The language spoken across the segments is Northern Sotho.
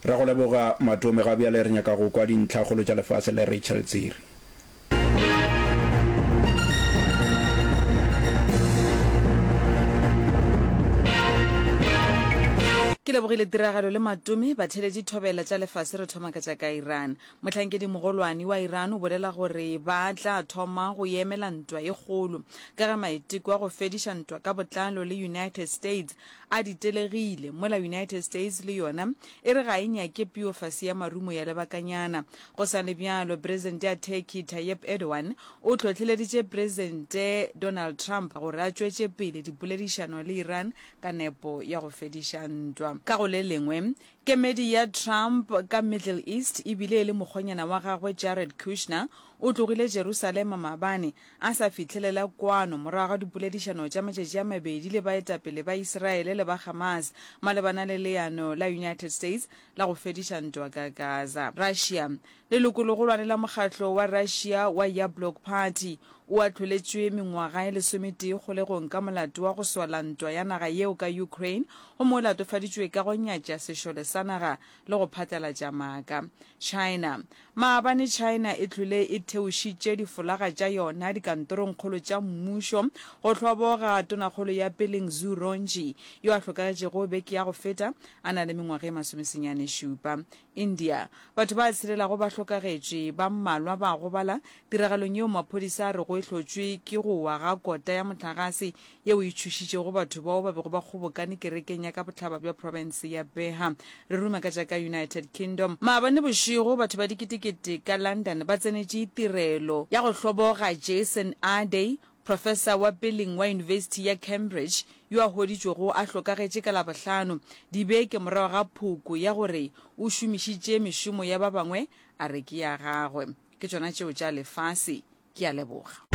Ra go leboga Matome, ga bjale re nyaka go kwa dintlhakgolo tša lefase le Rachel Tsiri. Ke lebogile tiragalo le Matome, batheeletši thobela tša lefase re thoma ka tša ka Iran. Mohlankedi mogolwane wa Iran o bolela gore ba tla thoma go emela ntwa e kgolo ka ge maiteko a go fediša ntwa ka botlalo le United States a ditelegile, mola United States le yona e re ga e nyake peo fase ya marumo ya lebakanyana. Go sa le bjalo, Presidente ya Turkey Tayyip Erdogan o hlohleleditše Presidente Donald Trump gore a tšwetše pele dipoledišano le Iran ka nepo ya go fediša ntwa. Ka go le lengwe, Kemedi ya Trump ka Middle East e bile e le mokgonyana wa gagwe Jared Kushner o tlogile Jerusalema maabane a sa fihlelela kwano morago ga dipoledišano tša matšatši a mabedi le baetapele ba Israele le ba Hamas malebana le leano la United States la go fediša ntwa ka Gaza. Russia Lelokolegolwane la mokgatlo wa Russia wa Yablok Party o ahloletšwe mengwaga e lesometee kgolegong ka molato wa go sola ntwa ya naga yeo ka Ukraine gomme o latofaditšwe ka go nyatša sešole sa naga le go phatlalatša maaka. China Maabane China e hlwele e theošitše difolaga tša yona dikantorongkgolo tša mmušo go hloboga tonakgolo ya peleng Zhu Rongji yo a hlokagetšego beke ya go feta a na le mengwaga e masomesenyane šupa. India, Batho ba tshelelago ba hlokagetše, ba mmalwa ba gobala tiragalong yeo maphodisa a rego e hlotšwe ke go wa ga kota ya mohlagase yeo e tšhošitšego batho bao ba bego ba kgobokane kerekeng ya ka bohlaba bja profense ya Bihar. Re ruma ka tša ka United Kingdom. Maabane bošego, batho ba diketekete ka London ba tsenetše tirelo ya go hloboga Jason Arday, Profesa wa peleng wa Yunibesithi ya Cambridge yo a hweditšwego a hlokagetše ka Labohlano, dibeke morago ga phoko ya gore o šomišitše mešomo ya ba bangwe a re ke ya gagwe. Ke tšona tšeo tša lefase. Ke a leboga.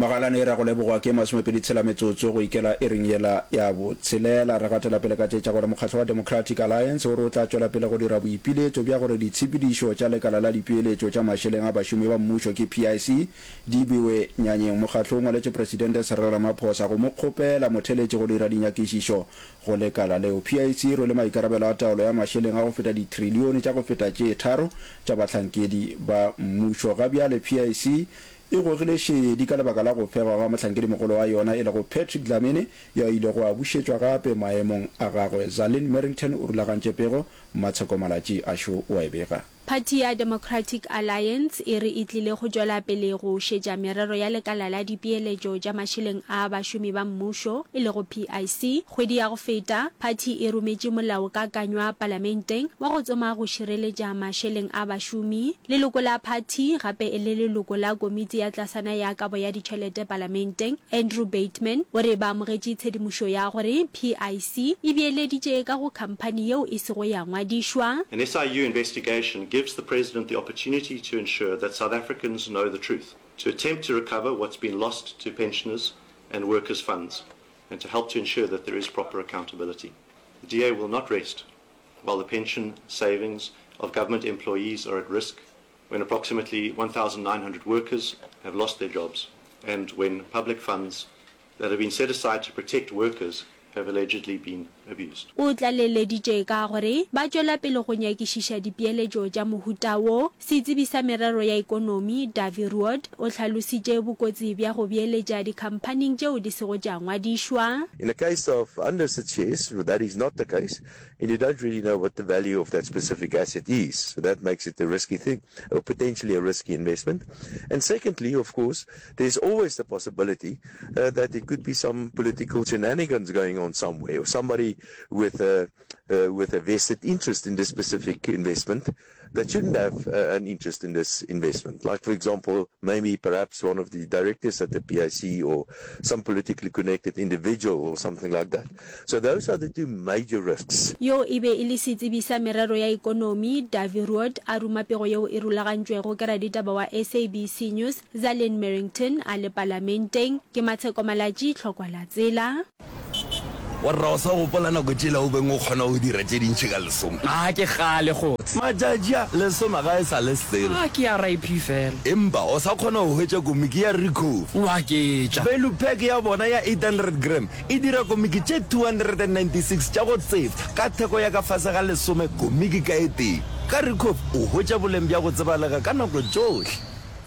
Magalane e ra go lebogwa ke masomepedi tshela metsotso go ikela iring yela ya botshelela. Re gatela pele ka tše tša gore mokgatlo wa Democratic Alliance o re o tla tšwela pele go dira boipiletšo bja gore ditshepedišo tša lekala la dipeeletšo tša mašeleng a bašomi ba mmušo ke PIC di bewe nyanyeng. Mokgatlo o ngwaletše Presidente Cyril Ramaphosa go mo kgopela motheletši go dira dinyakišišo go lekala leo. PIC e rwele maikarabelo a taolo ya mašeleng a go feta ditrilione tša go feta tše tharo tša bahlankedi ba mmušo. Ga bjale PIC E gogile šedi ka lebaka la go fegwa ga mohlankedimogolo wa yona e lego Patrick Dlamini yo a ilego a bušetšwa gape maemong a gagwe. Zalin Merrington o rulagantše pego, Mmatsheko Malatji a šo o a e bega. Phathi ya Democratic Alliance e re e tlile go tšwela pele go šetša merero ya lekala la dipeeletšo tša mašeleng a bašomi ba mmušo, e lego PIC. Kgwedi ya go feta, phathi e rometše molaokakanywa palamenteng wa go tsoma go šireletša mašeleng a bašomi. Leloko la phathi, gape e le leloko la komiti ya tlasana ya kabo ya ditšhelete palamenteng, Andrew Bateman, o re ba amogetše tshedimošo ya gore PIC e beeleditše ka go khamphani yeo e sego ya ngwadišwa. An SIU investigation gives the President the opportunity to ensure that South Africans know the truth, to attempt to recover what's been lost to pensioners and workers' funds, and to help to ensure that there is proper accountability. The DA will not rest while the pension savings of government employees are at risk, when approximately 1,900 workers have lost their jobs, and when public funds that have been set aside to protect workers have allegedly been abused. O tlaleleditše ka gore ba tšwela pele go nyakišiša dipeeletšo tša mohuta wo. Setsebi sa merero ya ekonomi, Dawie Roodt, o hlalositše bokotsi bja go beeletša dikhamphaning tšeo di sego tša ngwadišwa. In the case of unlisted shares, that is not the case. And you don't really know what the value of that specific asset is. So that makes it a risky thing, or potentially a risky investment. And secondly, of course, there's always the possibility uh, that there could be some political shenanigans going on somewhere, or somebody with a, uh, with a vested interest in this specific investment that shouldn't have uh, an interest in this investment. Like, for example, maybe perhaps one of the directors at the PIC or some politically connected individual or something like that. So those are the two major risks. Yo e be e le setsebi sa merero ya ekonomi, Dawie Roodt, a ruma pego yeo e rulagantšwego ke raditaba wa SABC News, Zalene Merrington, a le Palamenteng. Ke Matsheko Malatji, Tlhokwa la Tsela. Warra o sa gopola nako tšela o beng o kgona go dira tše dintši ka lesome? A ke kgale kgotse. Matšatši a, lesome ga e sa le selo. A ke RIP fela. Empa o sa kgona go hwetša komiki ya Ricoh. O aketša. Value pack ya bona ya 800 gram e dira komiki tše 296 tša go tsefa ka theko ya ka fase ga lesome komiki ka e tee. Ka Ricoh o hwetša boleng bja go tsebalega ka nako tšohle.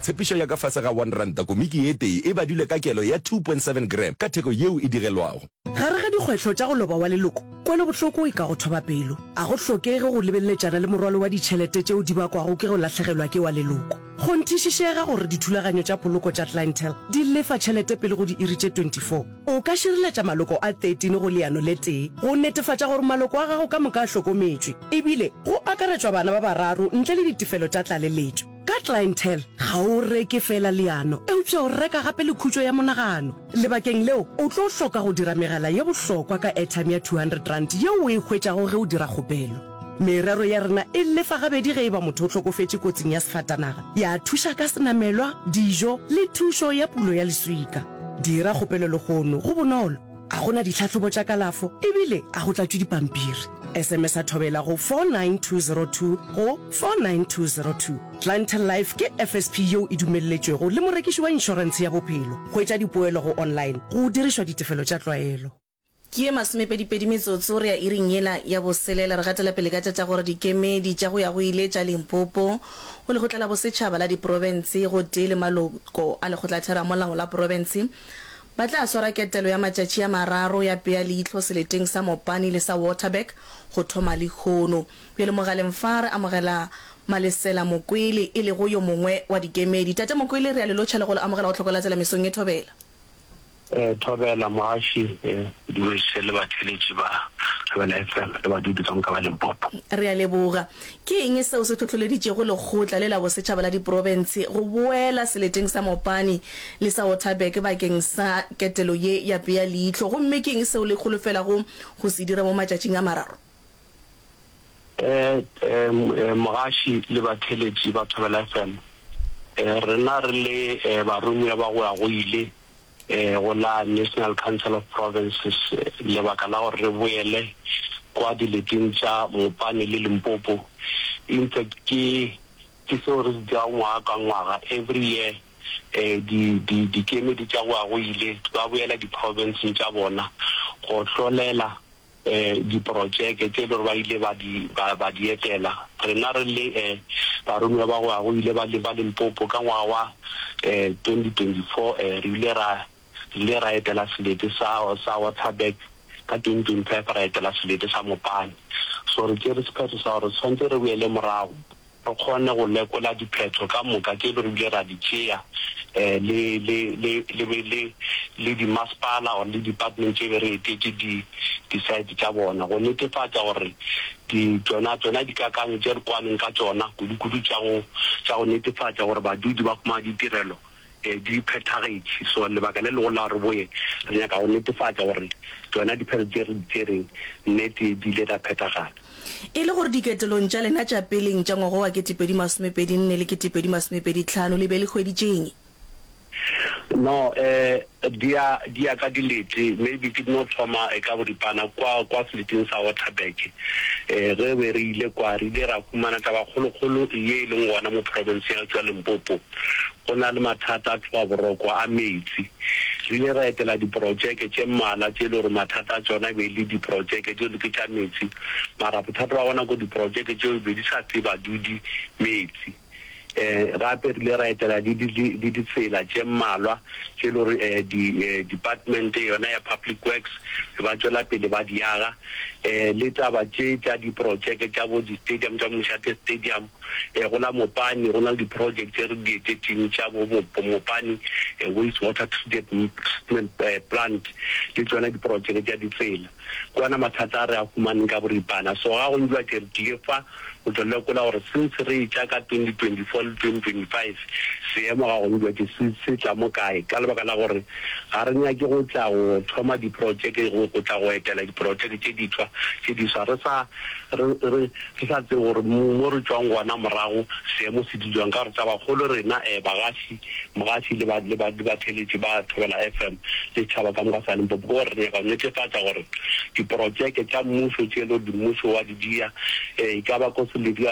Tshepišo ya ka fase ga R1 komiki e tee e badilwe ka kelo ya 2.7 gram ka theko yeo e digelwago. Gare ga dikgwetlho tša go loba wa leloko, kwelobohloko e ka go thoba pelo. A go hlokege go lebeleletšana le morwalo wa ditšhelete tšeo di bakwago ke go lahlegelwa ke wa leloko. Kgonthišišega gore dithulaganyo tša poloko tša Clientele di lefa tšhelete pele go diiri tše 24. O ka šireletša maloko a 13 go leano le tee go netefatša gore maloko a gago ka moka a hlokometšwe, ebile go akaretšwa bana ba bararo ntle le ditefelo tša tlaleletšo. Ka Clientele, ga o reke feela leano, eupša o reka gape le khutšo ya monagano. Lebakeng leo, o tlo hloka go dira megala ye bohlokwa ka airtime ya R200 yeo o e hwetšago ge o dira kgopelo. Merero ya rena e lefa gabedi ge e ba motho o hlokofetše kotsing ya sefatanaga, ya thuša ka senamelwa, dijo le thušo ya pulo ya leswika. Dira kgopelo lehono, go bonolo, ga go na ditlhahlobo tša kalafo ebile ga go tlatšwe dipampiri. SMS-a Thobela go 49202 go 49202. Clientele Life ke FSP yeo e dumelletšwego le morekiši wa inšorentshe ya bophelo. Hwetša dipoelo go online go dirišwa ditefelo tša tlwaelo. Ke ye masomepedipedi metsotso re ya iring yela ya boselela. Re gatela pele ka tša tša gore dikemedi tša go ya go ile tša Limpopo go Lekgotla la Bosetšhaba la Diprofense gotee le maloko a Lekgotlatheramolao la Profense ba tla swara ketelo ya matšatši a mararo ya pea leihlo seleteng sa Mopani le sa Waterberg go thoma lehono. Bjale mogaleng fa re amogela Malesela Mokwele e lego yo mongwe wa dikemedi. Tate Mokwele re a le lotšha le go le amogela go Tlhokolatsela mesong ye Thobela. Thobela mogaši, dumediše le batheeletši ba Thobela FM le badudi ka moka ba Limpopo. Re a leboga. Ke eng seo se hlohloleditšego Lekgotla le la Bosetšhaba la Diprofense go boela seleteng sa Mopani le sa Waterberg bakeng sa ketelo ye ya pea leihlo, gomme ke eng seo le holofelago go se dira mo matšatšing a mararo? Mogaši le batheeletši ba Thobela FM, rena re le baromiwa ba go ya go ile go la National Council of Provinces lebaka la gore re boele kwa dileteng tša Mopani le Limpopo in fact ke ke seo re se dirago ngwaga ka ngwaga every year di di dikemedi tša go ya go ile ba boela di-provinceng tša bona go hlolela diprotšeke tše e le gore ba ile ba di, ba, ba di etela. Rena re le baromiwa ba go ya go ile ba, ba Limpopo ka ngwaga wa 2024, re ile ra, re ile ra etela selete sa, sa Waterberg, ka 2025 ra etela selete sa Mopani. So re tšere sephetho sa gore re swanetše re boele morago re kgone go lekola diphetho ka moka tše re bile ra di tšea le, le, le, le, le, le dimasepala or le department tše be re etetše di, di-site tša bona go netefatša gore di, tšona, tšona dikakanyo tše re kwaneng ka tšona, kudu-kudu tša go, tša go netefatša gore badudi ba humana ditirelo di phethagetše. So lebaka le legolo la gore re boye, re nyaka go netefatša gore tšona diphetho tše re di tšereng nnete di ile tša phethagala. E le gore diketelong tša lena tša peleng tša ngwaga wa 2024 le 2025 le be le hweditše'ng? No, eh, di ya, di ya ka dilete. Maybe ke no thoma ka boripana kwa, kwa seleteng sa Waterberg. Eh, ge be re ile kwa, re ile ra humana taba kgolokgolo ye e leng gona mo profenseng ya tšwa Limpopo. Go na le mathata a tlhobaboroko a meetse. Re ile ra etela diprotšeke tše mmalwa tše e le gore mathata a tšona e be e le diprotšeke tšeo ke tša meetse, mara bothata ba gona ko diprotšeke tšeo be di sa fe badudi meetse. Gape re ile ra etela le le ditsela tše mmalwa tše e le gore di department yona ya Public Works ba tšwela pele ba di aga. Le taba tše tša diprotšeke tša bo di-stadium tša Mošate Stadium, Go la Mopani go na le di-project tše re di etetšeng tša bo Mopani Waste Water Treatment Plant le tšona diprojeke tša ditsela. Ke ona mathata a re a humaneng ka boripana. So ga go ntšwa tše re tlile fa. Go tlo lekola gore since re etša ka 2024 le 2025 seemo ga gone bjatše se se tla mo kae ka lebaka la gore ga re nyake go tla go thoma diprotšeke go go tla go etela diprotšeke tše diswa tše diswa re sa re re re sa tsebe gore mo re tšwang gona morago seemo se dutše bjang ka gore tabakgolo rena eh bagaši mogaši le ba le ba le batheeletši ba Thobela FM le setšhaba ka moka sa Limpopo ke gore re nyaka go netefatša gore diprotšeke tša mmušo tše e le gore mmušo wa di dia e ka ba ko Selebi.